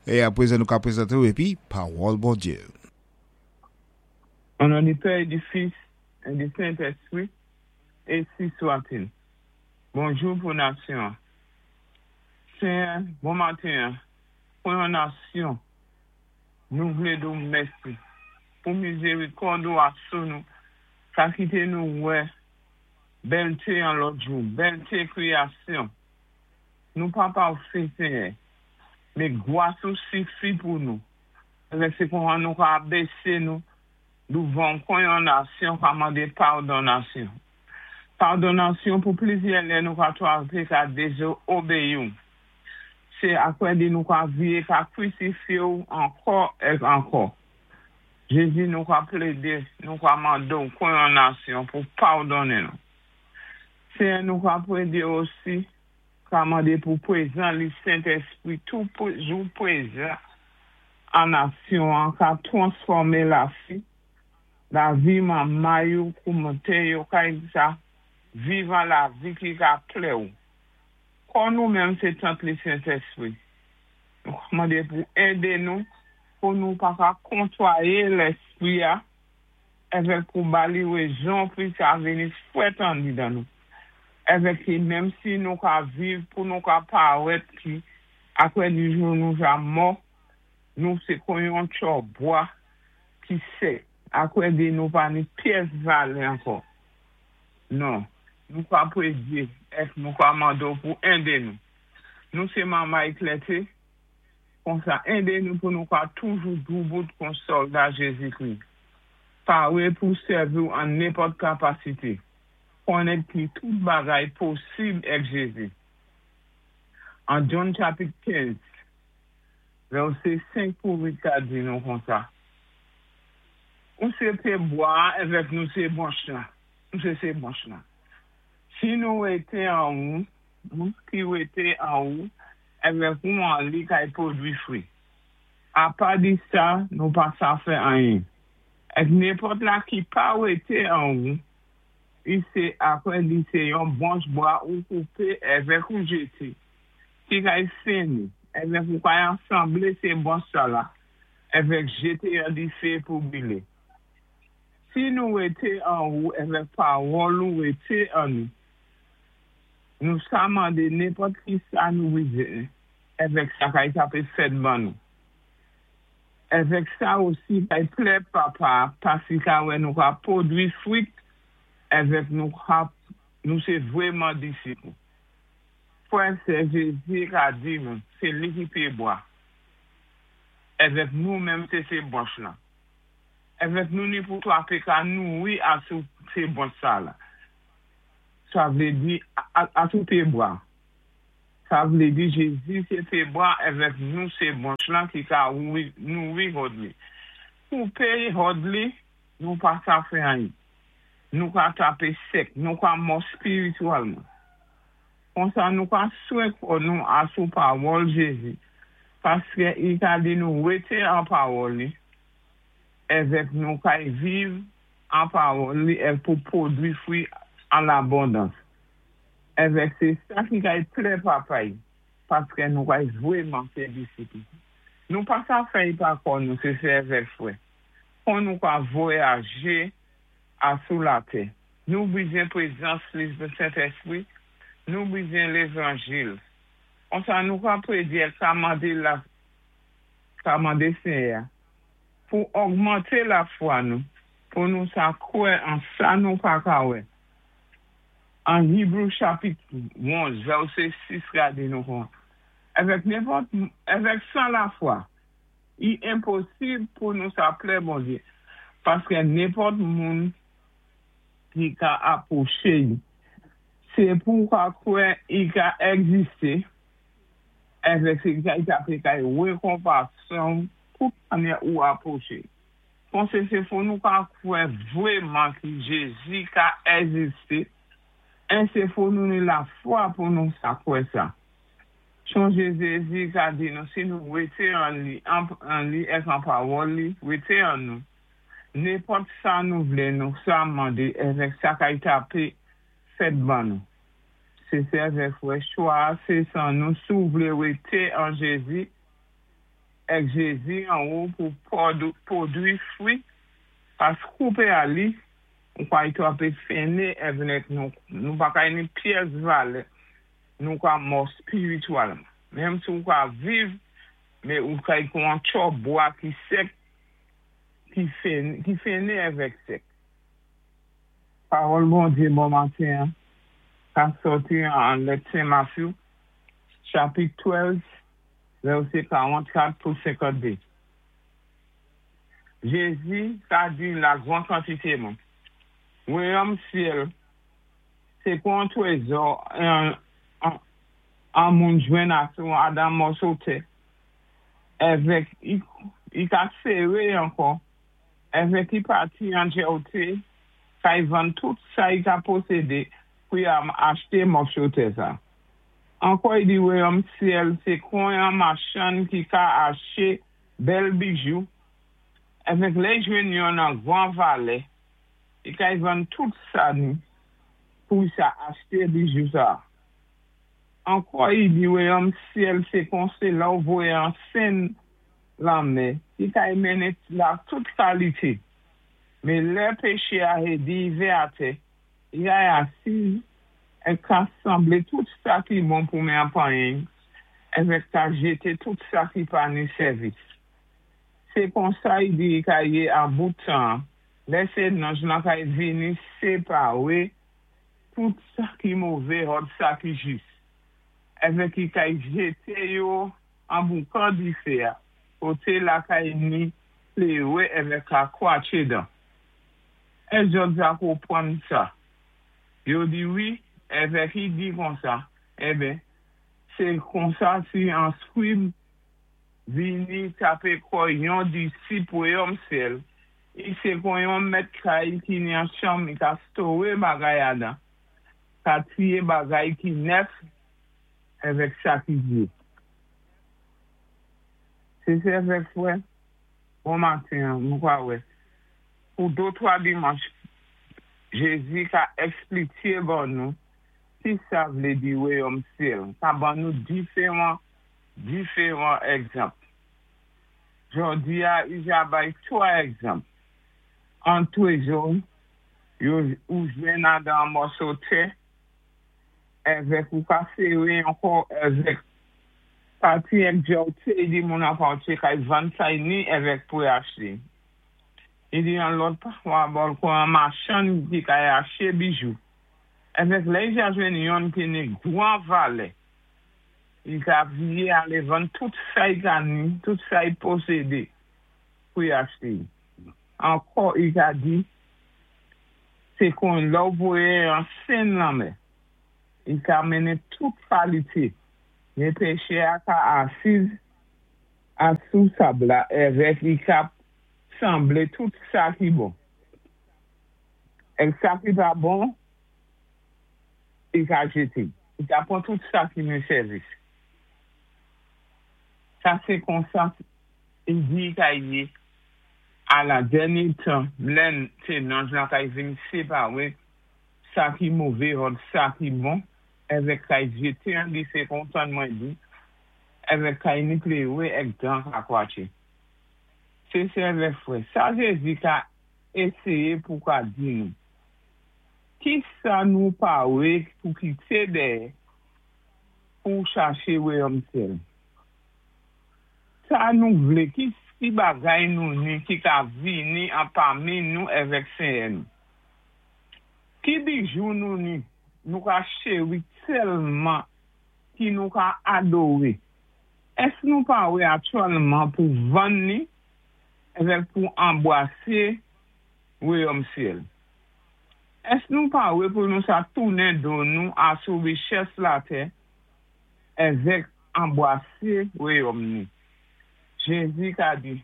É apwézan nou ka pwézanté-w épi Pawòl Bondyé. O non di Pè é di Fis é di Sentèspri, ensi swatil. Bonjou pou nasyon an. Senyè, bon maten an, pou yon nasyon, nou vlé di w mèsi pou mizerikòd ou a sou nou, ka kité nou wè bèlté yon lòt jou, bèlté kreyasyon. Nou pa pafé, Senyè, men gwas ou sifi pou nou. Lè se konsa nou ka abese nou douvan w kon yon nasyon ka mande padonasyon. Padonasyon pou plizyè lè nou ka twape ka dezobeyi w. Se apre li nou ka vire ka krisifye w ankò èk ankò. Jezi nou ka plede, nou ka mande w kon yon nasyon pou padonnen nou. Senyè nou ka plede osi Ka mande pou prezan li Sentespri toujou prezan an nasyon an ka transfòme lafi lavi manman yo koumnte yo kay sa viv an lavi ki ka plè ou kò nou menm se tant li Sentespri nou ka mande pou ede nou pou nou pa ka kontwaye lèspri a. Evèk pou ba li rezon pou sa vini fwèt andidan nou. Evèk ki menm si nou ka viv pou nou ka parèt ki aprè di jou nou ja mò, nou se kon yon tchò bwa ki sèk, aprè di nou pa ni pyès valè ankò. Non, nou ka predye èk nou ka mande w pou ende nou. Nou se manmay klète. Konsa, ede nou pou nou ka toujou doubout kon sòlda Jezikri, pare pou sèvi w an nenpòt kapasite, konnen ki tout bagay posib èk Jezi. An John chapit 15, vèsé 5 pou 8 ka di nou konsa, Ou sé pye bwa a èvèk nou sé branch la, nou sé sé branch la. Si nou rété an ou, Moun ki wété an ou, èvèk ou an li kay pwodwi fwi. Apa di sa, nou pa sa fè anyen. Èk nenpòt la ki pa wété an ou, i sé apwè li sé yon branch bwa ou koupé èvèk ou jété, ki kay fennen, èvèk ou kay ansanblé sé branch sa la, èvèk jété an difé pou brilé. Si nou wété an ou èvèk pawòl ou wété an nou, Nou sa mande nenpòt ki sa nou bizwen, èvèk sa kay tape fèt ban nou. Èvèk sa osi kay plè Papa a pas li ka wè nou ka pwodwi fwit èvèk nou ka nou se vwèman disip ou. Frè, sè, Jezi ka di nou se li ki pye bwa, èvèk nou menm se se branch lan. Èvèk nou ni pou twape ka nouri asou se branch sa la. Sa vlé di, asou pyé bwa. Sa vlé di Jézi sé pyé bwa èvèk nou sé branch lan ki ka nouri hòd li. Koupé hòd li, nou pa sa fè anyin. Nou ka tapé sèk, nou ka mò spiritwalman. Konsa nou ka swen kò nou asou pawòl Jézi, paskè i ka di nou rété an pawòl li, èvèk nou kay viv An pawòl li èv pou pwodwi fwi an labondans. Èvèk se sa ki kay plè Papa y, paskè nou kay vweman se disip li. Nou pa sa fè y pa kò nou se se èvèk frè. Kon nou ka voyaje a sou latè. Nou bizyen prezans li Sentèspri, nou bizyen levanjil. Konsa nou ka predye èk ka mande la ka mande Senyè a. Pou ogmante lafwa nou, pou nou sa kwè an sa nou pa ka wè. An Hebrew chapit 11 vèsé 6 gade nou kon èvèk nenpòt èvèk san lafwa i enposib pou nou sa plè Bondye, paskè nenpòt moun ki ka apwoche i se pou ka kwè i ka ègziste èvèk se i ka pe kay rekonpansonw Pou kane ou apwoche. Konse se fo nou ka kwè vweman ki Jezi ka èziste en se fo nou ni lafwa pou nou sa kwè sa. Chonje Zezi ka di nou si nou wete an li an li èk an pawòl li wete an nou nenpòt sa nou vle nou sa mande èvèk sa kay tape fèt ban nou. Se sèvè frè chwa a se san nou si w vle wete an Jezi. Èk Jézi an ou pou pwodwi fwi, pas koupé a li, ou kay twapé fennen èvèk nou, nou pa kay ni pyès valè, nou ka mò espirityèlman. Menm si ou ka viv, mé ou kay kon an tcho bwa ki sèk, ki fennen èvèk sèk. Pawòl Bondyé bon maten ka sòti an lèt Sen Matyou, chapit 12, vèsé 44 pou 52. Jézi ka di la gwan kantité moun: Wayòm syèl, sé kon twézò an moun jwenn asou adan mòso tè, èvèk i ka séré ankò, èvèk i pati an djòté, kay vann tout sa i ka posédé pou y achté mòso tè sa. Ankò i di wayòm syèl, sé kon yon machann ki ka aché bèl bijou, èvèk lè i jwenn youn an gwan valè, i kay vann tout sa ni pou sa achté bijou sa. Ankò i di wayòm syèl, sé kon sé lè ou voyé an senn lanmè, ki kay mennen la tout kalité. Mé lè péché a hédi rivé atè, i kay asiz é ka sanblé tout sa ki bon pou mé an panyen, èvèk ka jété tout sa ki pa ni sèvis. Sé konsa i di i ka yé an bout tan, lè sé nanj lan kay vini séparé tout sa ki mové òd sa ki jis. Èvèk i kay jété yo an boukan difé a, koté la kay ni pléwé èvèk ka kwatché dan. Èsk zòt ja konpwann sa? Yo di wi, èvèk i di konsa, enben, sé konsa si an skrib vini tapé kò yon disip wayòm syèl, i sé kon yon mèt kay ki ni an chanm i ka stowé bagay adan, ka triyé bagay ki nèf èvèk sa ki vyé. Sé sè èvèk frè, bon maten, nou kwa wè. Pou dé twa dimanch, Jézi ka èkspliké ban nou ki sa vlé di wayòm syèl, ka ban nou diféwan diféwan ègzanp. Jòdi a, i ja bay twa ègzanp. An twézò, yo ou jwenn adan mòso tè, èvèk ou ka séré ankò èvèk pati èk djòté di moun apatye kay vann sa ni èvèk pou aché. I di an lòt parabòl kon an machann ki kay aché bijou. Èvèk lè i ja jwenn youn ki ni gwan valè, i ka viyé alé vann tout sa i ka ni, tout sa i posédé pou y aché. Ankò i ka di, sé kon lè ou voyé an senn lanmè, i ka mennen tout kalité, mé péchè a ka asiz asou sab la èvèk i ka sanblé tout sa ki bon. Èk sa ki pa bon, i ka jété. I ka pwan tout sa ki ni sèvis. Sa sé konsa i di i ka yé a la dènyé tan, lè sé nanj la kay vin séparé sa ki mové òd sa ki bon, èvèk kay jété an difé kontan mwen di, èvèk kay ni pléwé èk dan ka kwatché. Sé sè èvèk frè, sa Jézi ka éséyé pou ka di nou. Ki sa nou pawé pou kité dèyè pou chaché wayòm syèl? Sa nou vlé, ki ki bagay nou ni ki ka vini an pami nou èvèk Senyè nou? Ki bijou nou ni, nou ka chéri tèlman ki nou ka adoré? Èsk nou pawé aktyèlman pou vann ni èvèk pou anbwasé wayòm syèl? Èsk nou pawé pou nou sa tounen do nou asou richès latè èvèk anbwasé wayòm ni? Jézi ka di,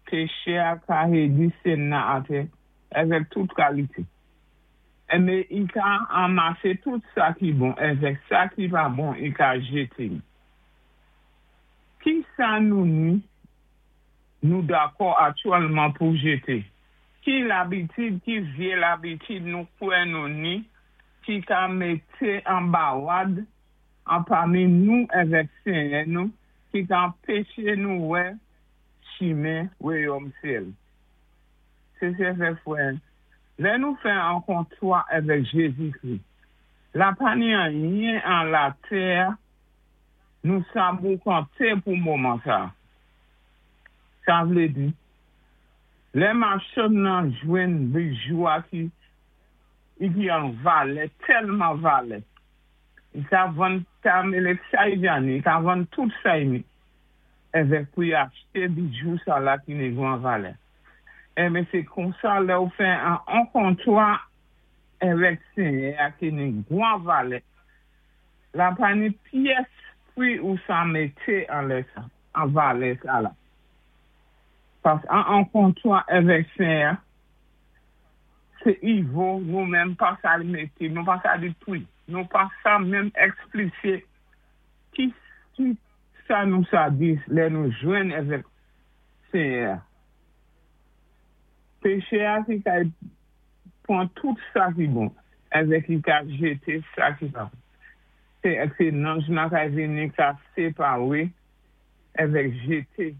péché a ka hédi senn nan atè èvèk tout kalité. Mé i ka anmasé tout sa ki bon èvèk sa ki pa bon i ka jété. Ki sa nou ni nou dakò aktyèlman pou jété? Ki labitid, ki vyé labitid nou kwè nou ni ki ka mété an bawad an pami nou èvèk Senyè nou, ki ka anpéché nou wè. Chimen wayòm syèl. Sé sè avèk frè, lè nou fè an kontra avèk Jézi-Kri, la pa ni anyen an latè nou sa boukanté pou moman sa. Sa vlé di, lè machann nan jwenn bijou a ki ki an valè, tèlman valè, i ka vann ta mélé sa i gani, i ka vann tout sa i ni, avèk pou i achté bijou sa la ki ni gran valè. Enben sé konsa lè ou fè an kontra avèk Séyè a ki ni gran valè, la pa ni pyès pri ou sa mété anlè sa, an valè sa la. Paski an kontra avèk Séyè a, sé i vo nou menm pa sa mété, nou pa sa di pri, nou pa sa menm ekspliké ki sa nou sa di lè nou jwenn avèk Séyè a. Péché a ki kay pwan tout sa ki bon, avèk li ka jété sa ki pa bon. Sé nanj nan kay vini ka séparé avèk jété,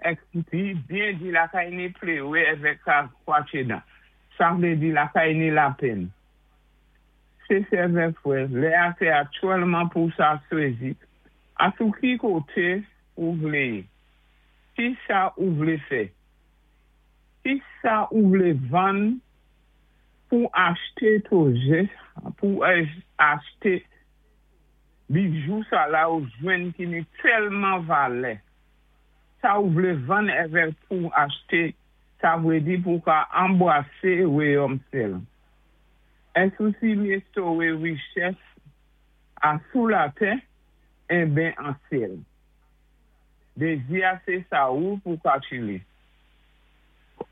èk li byen di la kay ni pléwé avèk ka kwatché dan. Sa vlé di la kay ni lapenn. Sé sè avèk frè, lè a sé aktyèlman pou sa chwazi, asou ki koté ou vlé yé? Ki sa ou vlé fè? Ki sa ou vlé vann pou achté pwojè, pou achté bijou sa la ou jwenn ki ni tèlman valè? Sa ou vlé vann avèk pou achté, sa vlé di pou ka anbrasé wayòm syèl. Èske ou si restowé richès a sou latè, enben an syèl? Dézi a sé sa ou pou ka chili.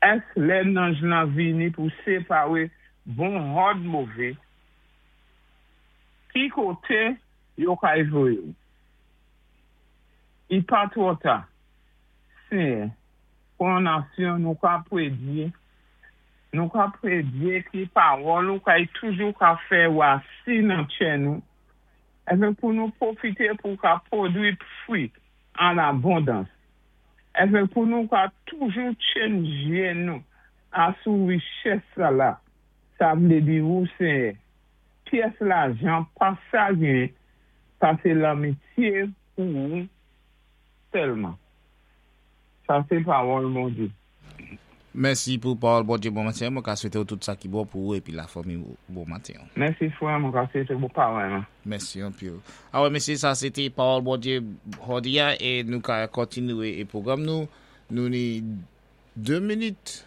Èsk lè nanj lan vini pou séparé bon hòd mové, ki koté yo kay voyé ou? I pa twò ta, Séyè, pou an nasyon nou ka prédyé, nou ka prédyé ki pawòl ou kay toujou ka fè rasin nan tchè nou, avèk pou nou pwofité pou ka pwodwi fwi an abondans. Avèk pou nou ka toujou tchenn jyé nou asou richès sa la, sa vlé di ou Séyè, pyès lajan pa sa gen pasé lanmityé pou ou sèlman. Sa sé pawòl Bondyé. Mèsi pou pawòl Bondyé bon maten. Mwen ka swété ou tout sa ki bon pou ou épi lafanmi ou bon maten. Mèsi frè, mwen ka swété ou parèyman. Mèsi anpil. Awè mésyé sa sé té pawòl Bondyé jòdi a é nou ka kontinué é pwogram nou. Nou ni 2 minit,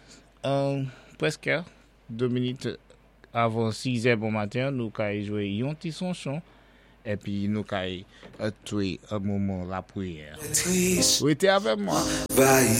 prèskè 2 minit avan 6 è bon maten nou kay jwé yon ti sonchon épi nou kay twé moman lapriyè. Rété avè mwa.